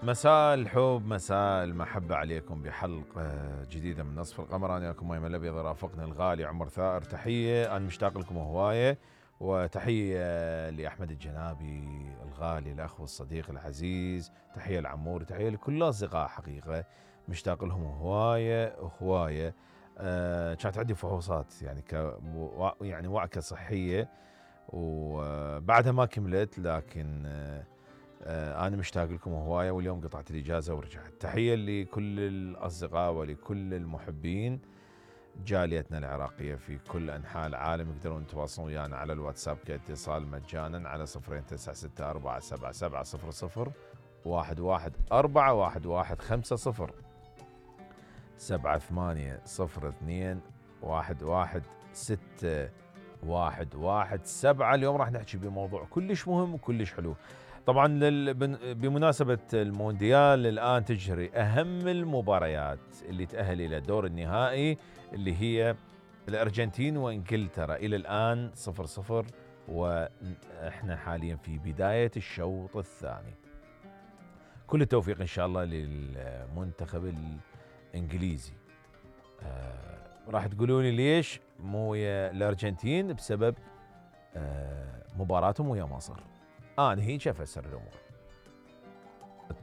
مساء الحب، مساء المحبة عليكم بحلقة جديدة من نصف القمر. أنا وياكم ميمن الأبيض، رافقنا الغالي عمر ثائر. تحية، أنا مشتاق لكم هواية، وتحية لأحمد الجنابي الغالي الأخ والصديق العزيز، تحية لعمور، تحية لكل الأصدقاء. حقيقة مشتاق لهم هواية. كانت عندي فحوصات يعني وعكة صحية وبعدها ما كملت، لكن أنا مشتاق لكم هواية، واليوم قطعت الإجازة ورجعت. تحية لكل الأصدقاء ولكل المحبين جاليتنا العراقية في كل أنحاء العالم. يقدرون يتواصلون ويانا على الواتساب كاتصال مجانا على 0964770011 78021167. اليوم راح نحكي بموضوع كلش مهم وكلش حلو. طبعا بمناسبة المونديال الآن تجري أهم المباريات اللي تأهل إلى دور النهائي، اللي هي الأرجنتين وإنجلترا. إلى الآن 0-0، وإحنا حاليا في بداية الشوط الثاني. كل التوفيق إن شاء الله للمنتخب الإنجليزي. راح تقولوني ليش مو ويا الأرجنتين؟ بسبب مباراتهم ويا مصر. أنا هيك أفسر الأمور.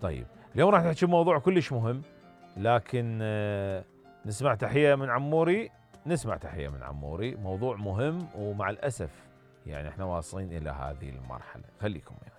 طيب اليوم راح نحكي بموضوع كلش مهم، لكن نسمع تحية من عموري. موضوع مهم، ومع الأسف يعني احنا واصلين إلى هذه المرحلة. خليكم يعني.